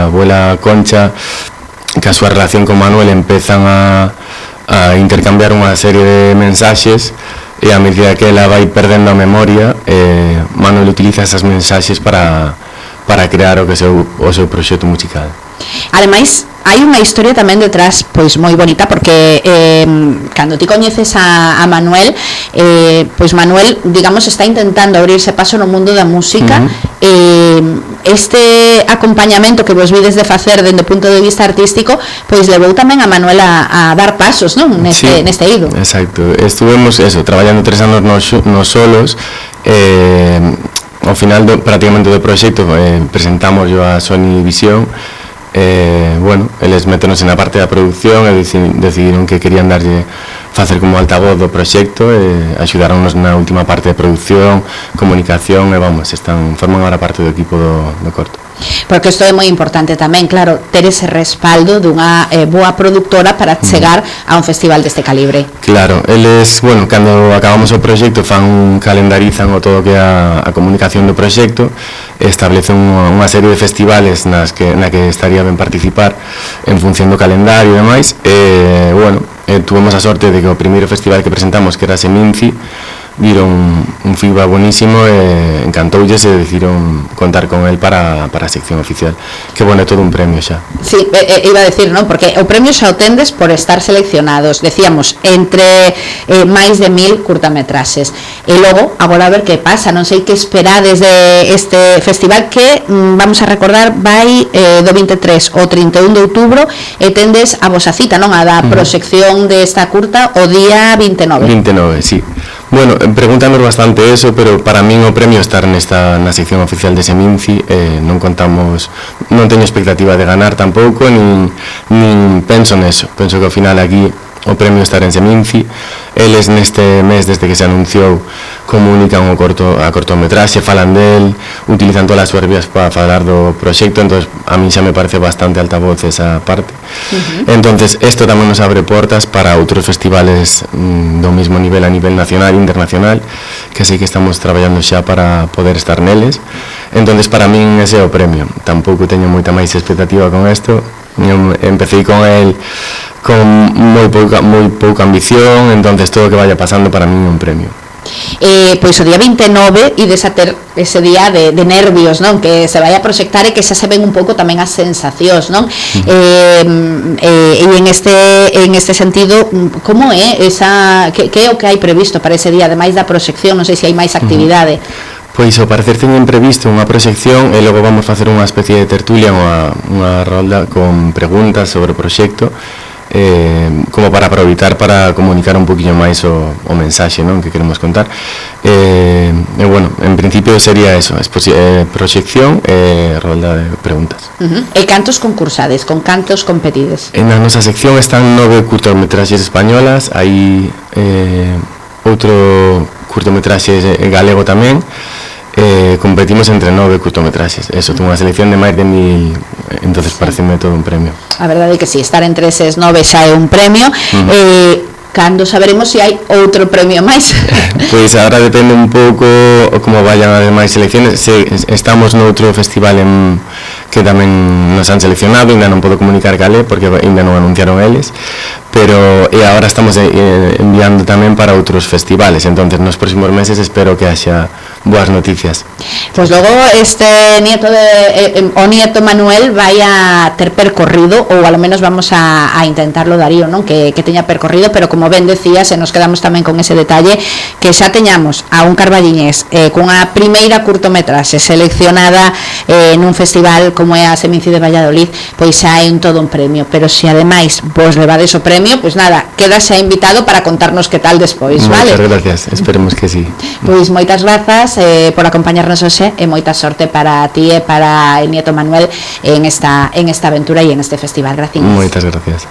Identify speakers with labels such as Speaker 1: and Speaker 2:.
Speaker 1: abuela Concha, que a súa relación con Manuel empezan a intercambiar unha serie de mensaxes, e a medida que ela vai perdendo a memoria, Manuel utiliza esas mensaxes para crear o seu proxecto musical.
Speaker 2: Ademais, hai unha historia tamén detrás pois moi bonita, porque cando ti coñeces a Manuel, pois Manuel, digamos, está intentando abrirse paso no mundo da música. Este acompañamento que vos vides de facer dende o punto de vista artístico, pois levou tamén a Manuel a dar pasos, non? Neste eido.
Speaker 1: Exacto, estuvemos traballando 3 anos nos solos. Ao final prácticamente do proxecto presentamos a Sony Visión. Bueno, eles métenos na parte da producción e decidiron que querían facer como altavoz do proxecto, e axudaronnos na última parte de producción, comunicación, e forman agora parte do equipo do corto.
Speaker 2: Porque isto é moi importante tamén, claro, ter ese respaldo dunha boa productora para chegar a un festival deste calibre.
Speaker 1: Claro, eles, bueno, cando acabamos o proxecto calendarizan todo o que é a comunicación do proxecto, establecen unha serie de festivales na que estaría ben participar en función do calendario e demais. Bueno, tuvemos a sorte de que o primeiro festival que presentamos, que era Seminci, viron un feedback buenísimo e encantoulles, e decidiron contar con el para a sección oficial, que bueno, é todo un premio xa.
Speaker 2: Sí, iba a decir, non? Porque o premio xa o tendes por estar seleccionados, decíamos, entre máis de 1000 curtametraxes, e logo, agora a ver que pasa, non sei que esperades de este festival, que vamos a recordar vai do 23 ao 31 de outubro, e tendes a vosa cita, non? A da proxección desta curta o día 29.
Speaker 1: 29, sí. Bueno, pregúntanos bastante eso, pero para min o premio estar na sección oficial de Seminci. Non teño expectativa de ganar tampouco, nin penso neso. Penso que ao final aquí o premio estar en Seminci. Eles neste mes, desde que se anunciou, comunican a cortometraxe, falan del, utilizan todas as súas vías para falar do proxecto. Entón a mí xa me parece bastante altavoz esa parte. Entonces isto tamén nos abre portas para outros festivales do mismo nivel, a nivel nacional e internacional, que sei que estamos traballando xa para poder estar neles. Entonces para min ese é o premio. Tampouco teño moita máis expectativa con isto. Empecé con el con moi pouca ambición, entonces todo o que vaya pasando para mí é un premio.
Speaker 2: Pois o día 29 ides a ter ese día de nervios, non? Que se vai a proxectar e que xa se ven un pouco tamén as sensacións, non? E en este sentido, como é que é o que hai previsto para ese día, ademais da proxección? Non sei se hai máis actividade.
Speaker 1: Pois ao parecer teñen previsto unha proxección, e logo vamos facer unha especie de tertulia, unha rolda con preguntas sobre o proxecto, como para aproveitar para comunicar un poquinho máis o mensaxe, non, que queremos contar. Bueno, en principio sería eso, proxección e rolda de preguntas.
Speaker 2: E cantos concursades, con cantos competides?
Speaker 1: En a nosa sección están 9 curtometraxes españolas, hai outro curtometraxe galego tamén. Competimos entre 9 curtometraxes. Eso, tengo unha selección de máis de 1000, entonces pareceme todo un premio.
Speaker 2: A verdade é que si, estar entre eses 9 xa é un premio. Cando saberemos se hai outro premio máis?
Speaker 1: Pois agora depende un pouco como vayan as demais selecciones. Estamos noutro festival que tamén nos han seleccionado, ainda non podo comunicar calé porque ainda non anunciaron eles, pero agora estamos enviando tamén para outros festivales, entonces nos próximos meses espero que haxa boas noticias.
Speaker 2: Pois logo o nieto Manuel vai a ter percorrido, ou ao menos vamos a intentarlo, Darío, non? Que teña percorrido, pero como ben decías, e nos quedamos tamén con ese detalle, que xa teñamos a un carballiñés cunha primeira curtometraxe seleccionada nun festival como é a Seminci de Valladolid, pois xa é todo un premio. Pero se ademais vos levades o premio, pois nada, quedas xa invitado para contarnos que tal despois, vale?
Speaker 1: Moitas gracias, esperemos que sí.
Speaker 2: Pois moitas grazas por acompañarnos hoxe, e moita sorte para ti e para el nieto Manuel en esta aventura e en este festival. Gracias.
Speaker 1: Moitas gracias.